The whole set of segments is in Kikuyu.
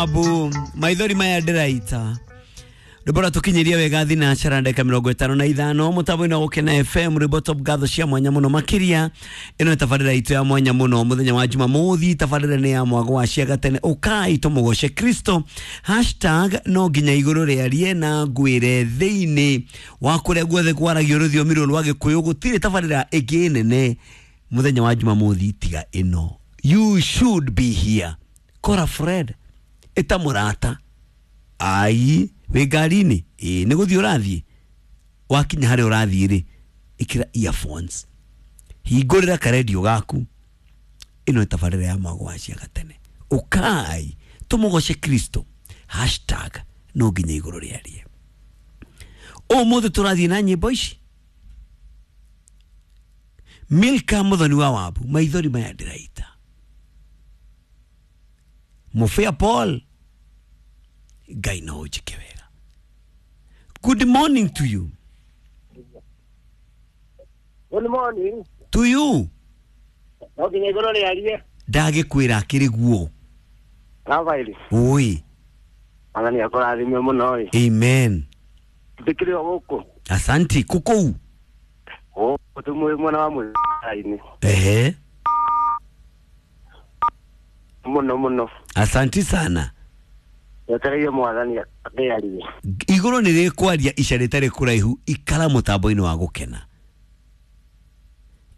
Wabu maithori maya ndĩraita rwĩmbo rwatũkinyĩria wega thinacara ndagĩka mĩrongo ĩtano na ithano mũtambo-inĩ wa Gũkena FM rwĩmbo top ngatho cia mwanya mũno makĩria ĩno nĩ tabarĩra itũ ya mwanya mũno mũthenya wa Jumamothi tabarĩra nĩ ya mwago wa cia gatene ũkai tũmũgoce Kristo hashtag no nginya igũrũ rĩarie na ngwĩre thĩinĩ wa kũrĩa guothe kwaragio rũthiomi rũrũ rwa Gĩkũyũ gũtirĩ tabarĩra ĩngĩ nene mũthenya wa Jumamothi tiga ĩno. You should be here. Kora Fred ĩta mũrata ai wĩ ngari-inĩ ĩĩ nĩ gũthiĩ ũrathiĩ wakinya harĩa ũrathiĩ rĩ ĩkĩra earphones hingũrĩra karendio gaku ĩno nĩ tabarĩra ya mwago wa cia gatene ũkai tũmũgoce Kristo hashtag no nginya igũrũ rĩarie ũmũthĩ tũrathiĩ na nyĩmbo ici Milka Muthoni wa Wabu maithori maya ndĩraita Mufia Paul Ngai no ũnjĩke wega. Good morning to you. Good morning. To you. No nginya igũrũ rĩarie. Ndagĩkwĩra akĩrĩ guo. Rafaeli. Oi. Mwathani akũrathime mũno ĩ. Amen. Ndĩkĩrĩ o gũkũ. Asanti kũkũu. Gũkũ tũmwĩ mwena wa mũthara-inĩ. Ehe. Mũno mũno. Asanti sana. Wetereire mwathani akĩarie. Igũrũ nĩ rĩkwaria ica rĩtarĩ kũraihu ikara mũtambo-inĩ wa Gũkena.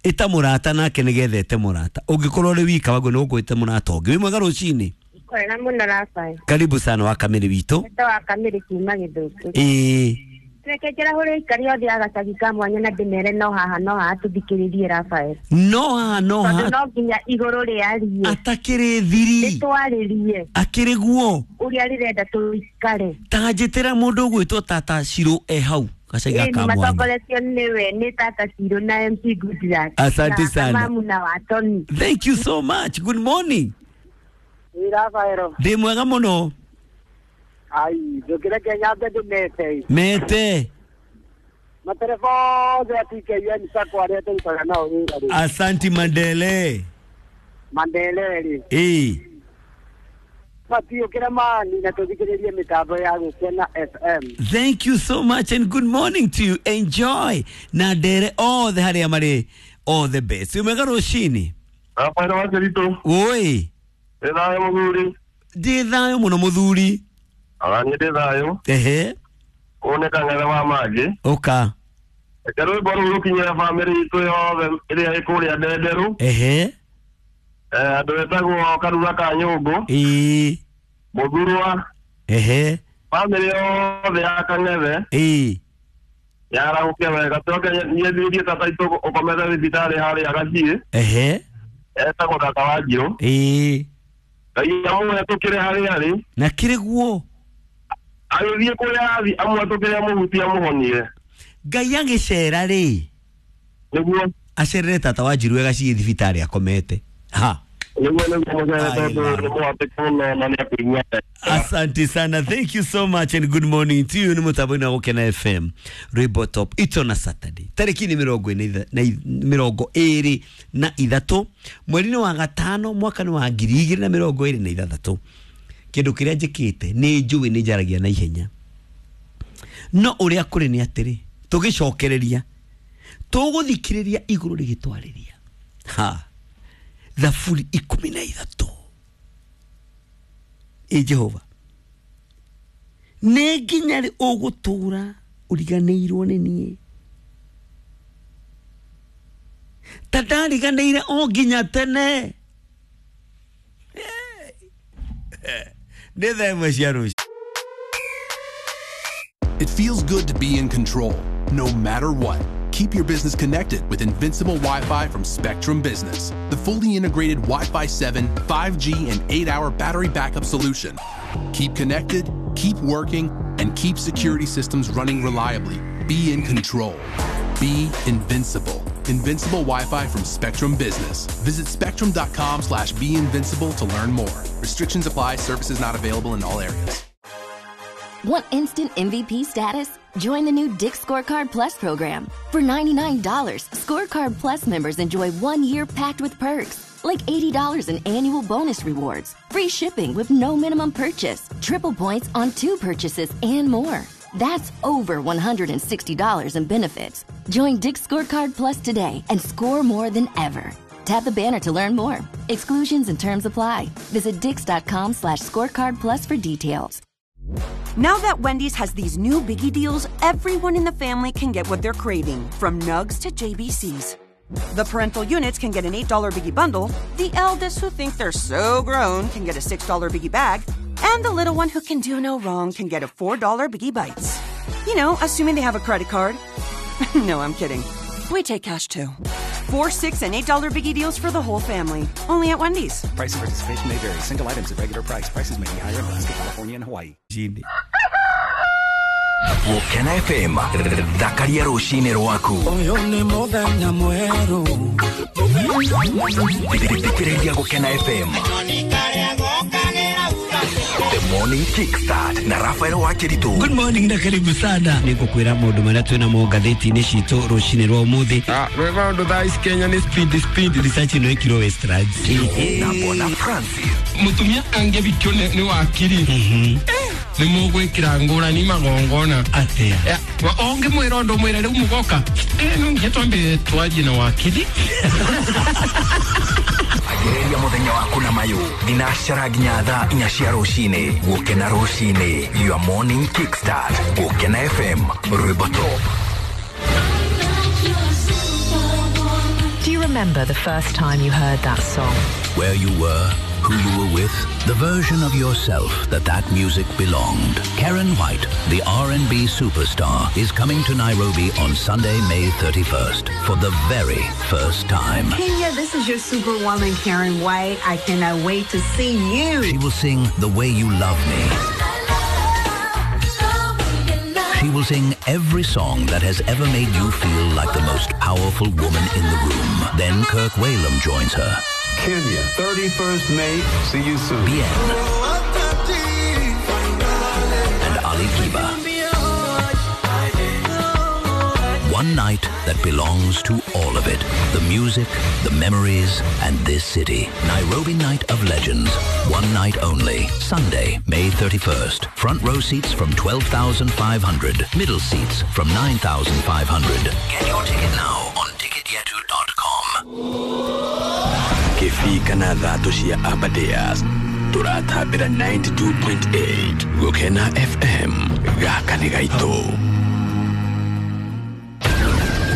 Ĩta mũrata nake nĩgetha ete mũrata. Ũngĩkorwo ũrĩ wika waguo nĩ ũgwĩte mũrata ũngĩ. Wĩ mwega rũcinĩ. Kwega mũno Rafael. Karibu sana wa kamĩrĩ witũ. Wĩtũ wa kamĩrĩ kuma Gĩthũngũri. Ĩĩ. Reke njĩra aikari othe a gacagi ka mwanya na ndĩmere no haha no haha tũthikĩrĩrie Rafael. No haha no Tondũ haha no nginya igũrũ rĩarie. atakĩrĩ thiri Nĩtwarĩrie akĩrĩ guo ũrĩa rĩrenda tũikare. ta njĩtĩra mũndũ ũgwĩtwo tata Shiro e hau gacagi Ĩĩ gaka mwanya. matongoretio nĩwe nĩ tata Shiro na MC Goodluck. Asante Na sana. Kamamu na Watoni. Thank you so much. Good morning. Ĩ Rafael. Ndĩ mwega mũno. Ai, ndũkĩreke nyambe ndĩmete. Mete. Matereba othe a TKN Sacco arĩa tũrutaga nao wĩra rĩ. Asanti Mandele. Mandele rĩ. Ĩĩ. Matiũkĩre mani na tũthikĩrĩrie mĩtambo ya Gũkena FM. Thank you so much and good morning to you. Enjoy. Na ndere othe harĩa marĩ all the best. Wĩ mwega rũcinĩ. Rafael wa Kĩritũ, Oi. ndĩ thayũ mũthuri. Ndĩ thayũ mũno mũthuri. Ona niĩ ndĩ thayũ. Ehe. Ũyũ nĩ kang'ethe wa mangĩ. Ũka. Reke rwĩmbo rũu rũkinyĩre bamĩrĩ itũ yothe ĩrĩa ĩ kũrĩa Ndenderũ. Ehe. Andũ etagwo Karura ka Nyũngũ, Ĩĩ. Mũthurwa, Ehe. bamĩrĩ yothe ya Kang'ethe Ĩĩ. yarahũke wega. Coke niĩ thirie tata itũ ũkomete thibitarĩ harĩa Gaciĩ, Ehe. etagwo tata wa Njirũ. Ĩĩ. Ngai amũhetũkĩre harĩa arĩ, Na kĩrĩ guo. agĩthiĩ kũrĩa athiĩ amũhetũkĩre amũhutie amũhonie. Ngai agĩcera rĩ Nĩguo acerere tata wa Njirũ gaciĩ thibitarĩ akomete ha. nĩguo nĩguo mũcere Ai, tondũ la. nĩ mũhatĩku mũno na nĩ akũigua wega. Asante sana, thank you so much and good morning to you. Nĩ mũtambo-inĩ wa Gũkena FM rwĩmbo top it's on a Saturday tarĩki nĩ mĩrongo ĩna na mĩrongo ĩrĩ na ithatũ mweri-inĩ wa gatano mwaka nĩ wa 2026. Kĩndũ kĩrĩa njĩkĩte nĩ njũĩ nĩ njaragia na ihenya no ũrĩa kũrĩ nĩ atĩrĩ tũgĩcokereria tũgũthikĩrĩria igũrũ rĩgĩtwarĩria ha thaburi 13 ĩ Jehova nĩ nginya rĩ ũgũtũra ũriganĩirwo nĩ niĩ ta ndariganĩire o nginya tene nĩ thaa ĩmwe cia rũciũ. It feels good to be in control, no matter what. Keep your business connected with Invincible Wi-Fi from Spectrum Business, the fully integrated Wi-Fi 7, 5G, and 8-hour battery backup solution. Keep connected, keep working, and keep security systems running reliably. Be in control. Be invincible. Invincible Wi-Fi from Spectrum Business. Visit spectrum.com/beinvincible to learn more. Restrictions apply. Services not available in all areas. Want instant MVP status? Join the new Dick's Scorecard Plus program. For $99, Scorecard Plus members enjoy 1 year packed with perks, like $80 in annual bonus rewards, free shipping with no minimum purchase, triple points on 2 purchases, and more. That's over $160 in benefits. Join Dick's Scorecard Plus today and score more than ever. Tap the banner to learn more. Exclusions and terms apply. Visit dicks.com/scorecard plus for details. Now that Wendy's has these new biggie deals, everyone in the family can get what they're craving, from nugs to JBCs. The parental units can get an $8 biggie bundle, the eldest who think they're so grown can get a $6 biggie bag, and the little one who can do no wrong can get a $4 biggie bites. You know, assuming they have a credit card. No, I'm kidding. We take cash too. $4, $6, and $8 biggie deals for the whole family. Only at Wendy's. Price and participation may vary. Single items at regular price. Prices may be higher in Alaska, California, and Hawaii. Gũkena FM thakaria rũcinĩ rwaku. Ũyũ nĩ mũthenya mwerũ. Thikĩrĩria Gũkena FM. The Morning Kickstart na Rafael Wakiritu. Good morning na karibu sana. Nĩngũkwĩra maũndũ marĩa twĩ namo ngathĩti-inĩ citũ rũcinĩ rwa ũmũthĩ. Rwĩ maũndũ thaa ici Kenya nĩ speed speed. Research ĩno ĩkirwo Westlands. Na Bwana Francis. Mũtumia angĩbikio nĩ wakiri. Nĩ mũgwĩkĩra ngũrani magongona. Atĩa? Ũngĩmwĩra ũndũ mwĩre rĩu mũgoka. No nginya twambe twarie na wakiri. Agĩrĩria mũthenya waku na mayũ thinacara nginya thaa 4 cia rũcinĩ. Gũkena rũcinĩ, your morning kickstart. Gũkena FM, rwĩmbo top. Do you remember the first time you heard that song? Where you were, who you were with, the version of yourself that music belonged. Karen White, the R&B superstar, is coming to Nairobi on Sunday, May 31st for the very first time. Kenya, this is your superwoman, Karen White. I cannot wait to see you. She will sing The Way You Love Me. She will sing every song that has ever made you feel like the most powerful woman in the room. Then Kirk Whalum joins her. Kenya, 31st May. See you soon. Bien. And Ali Kiba. One night that belongs to all of it. The music, the memories, and this city. Nairobi Night of Legends. One night only. Sunday, May 31st. Front row seats from 12,500. Middle seats from 9,500. Get your ticket now on ticketyetu.com. Kĩbii kana thatũ cia Aberdares tũratambĩra 92.8 Gũkena FM gaka nĩ gaitũ.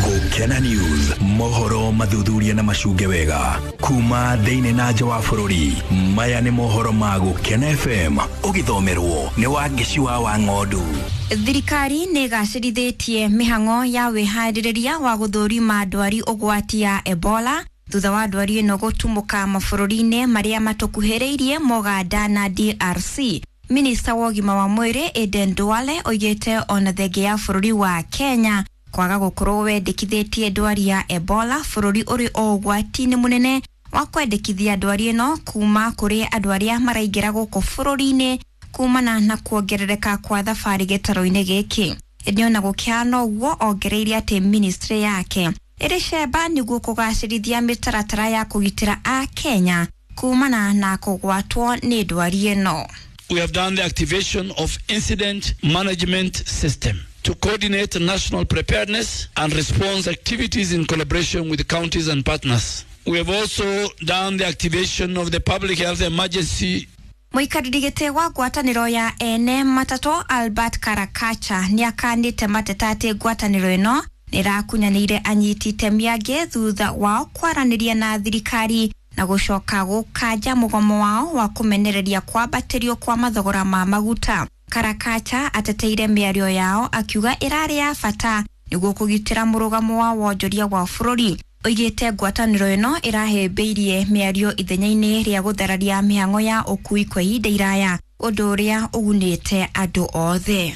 Gũkena News, mohoro mathuthuria na macunge wega kuma thĩinĩ na nja wa bũrũri. Maya nĩ mohoro ma Gũkena FM ũgĩthomerwo nĩ Wangeci wa Wang'ondu. Thirikari nĩ ĩgacĩrithĩtie mĩhang'o ya wĩharĩrĩria wa gũthũrima ndwari ũgwati ya Ebola thutha wa ndwari ĩno gũtumũka mabũrũri-inĩ marĩa matũkuhĩrĩirie Moganda na DRC. Minista wa ũgima wa mwĩrĩ Aden Duale oigĩte ona thenge ya bũrũri wa Kenya kwaga gũkorwo wendekithĩtie ndwari ya Ebola bũrũri ũrĩ o ũgwati-inĩ mũnene wa kwendekithia ndwari ĩno kuma kũrĩ andũ arĩa maraingĩra gũkũ bũrũri-inĩ kumana na kuongerereka kwa thabarĩ gĩtarũ-inĩ gĩkĩ. Ĩndĩ ona gũkĩhana ũguo ongereire atĩ ministry yake ĩrĩ cemba nĩguo kũgacĩrithia mĩtaratara ya kũgitĩra a Kenya kumana na kũgwatwo nĩ ndwari ĩno. We have done the activation of incident management system to coordinate national preparedness and response activities in collaboration with counties and partners. We have also done the activation of the public health emergency. Mũikarĩri gĩtĩ wa ngwatanĩro ya ene matatũ Albert Karakacha nĩakanĩte mateta atĩ ngwatanĩro ĩno nĩrakunyanĩire anyiti itemi angĩ thutha wao kwaranĩria na thirikari na gũcoka gũkanja mũgomo wao wa kũmenereria kwambatĩrio kwa mathogora ma maguta. Karakacha ateteire mĩario yao akiuga ĩrarĩ ya bata nĩguo kũgitĩra mũrũgamo wa wonjoria wa bũrũri. Oigĩte ngwatanĩro ĩno ĩrahĩmbĩirie mĩario ithenya-inĩ rĩa gũthararia mĩhang'o ya ũkui kwa ihinda iraya, ũndũ ũrĩa ũgunĩte andũ othe.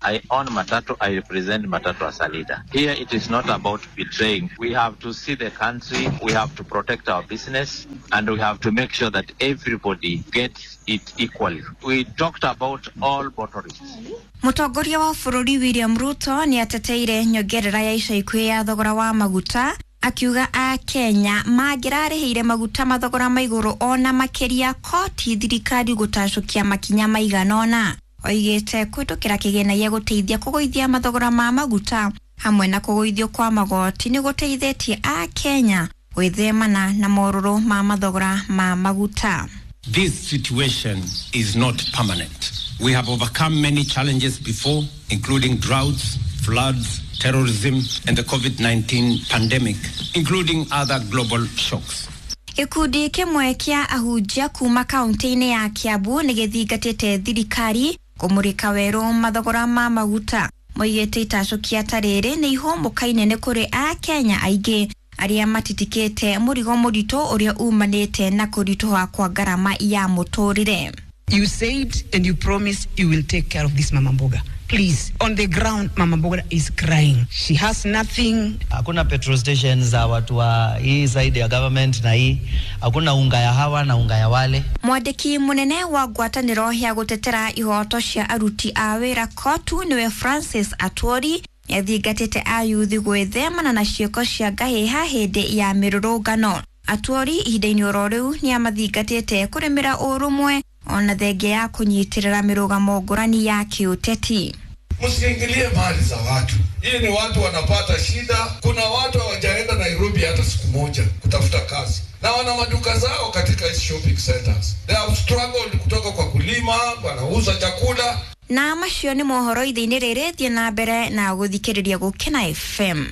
I own Matatu, I represent Matatu as a leader. Here it is not about betraying. We have to see the country, we have to protect our business, and we have to make sure that everybody gets it equally. We talked about all motorists. Mũtongoria wa bũrũri William Ruto nĩ ateteire nyongerera ya ica ikuhĩ ya thogora wa maguta Akiuga a Kenya mangĩrarĩhĩire maguta mathogora ma igũrũ ona makĩria koti thirikari gũtacũkia makinya maigana ũna. Oigĩte kũhĩtũkĩra kĩgĩna gĩa gũteithia kũgũithia mathogora ma maguta hamwe na kũgũithio kwa magoti nĩ gũteithĩtie a Kenya gwĩthemana na morũrũ ma mathogora ma maguta. This situation is not permanent. We have overcome many challenges before, including droughts, floods, terrorism, and the COVID 19 pandemic, including other global shocks. Gĩkundi kĩmwe kĩa ahunjia kuma kaunti-inĩ ya Kiambu nĩ gĩthingatĩte thirikari kũmũrĩka werũ mathogora ma maguta. Moigĩte itacũkia ta rĩrĩ nĩ ihũmũka inene kũrĩ a Kenya aingĩ arĩa matitikĩte mũrigo mũritũ ũrĩa umanĩte na kũritũha kwa ngarama ya mũtũrĩre. You said and you promised you will take care of this Mama Mboga. Please, on the ground, Mama Mboga is crying. She has nothing. Hakuna petrol station za watu wa hii side ya government na hii, hakuna unga ya hawa na unga ya wale. Mwandĩki mũnene wa ngwatanĩro ya gũtetera ihoto cia aruti a wĩra KOTU nĩwe Francis Atwori nĩathingatĩte ayuthi gwĩthemana na ciĩko cia ngahĩha hĩndĩ ya mĩrũrũngano. Atwori ihinda-inĩ oro rĩu nĩamathingatĩte kũrĩmĩra ũrũmwe ona thengia ya kũnyitĩrĩra mĩrũgamo ngũrani ya kĩũteti. Msiingilie mali za watu. Hii ni watu wanapata shida. Kuna watu hawajaenda Nairobi hata siku moja kutafuta kazi, na wana maduka zao katika hizi shopping centers. They have struggled kutoka kwa kulima, wanauza chakula. Na macio nĩ mohoro ithe-inĩ rĩrĩ, thiĩ na mbere na gũthikĩrĩria Gũkena FM.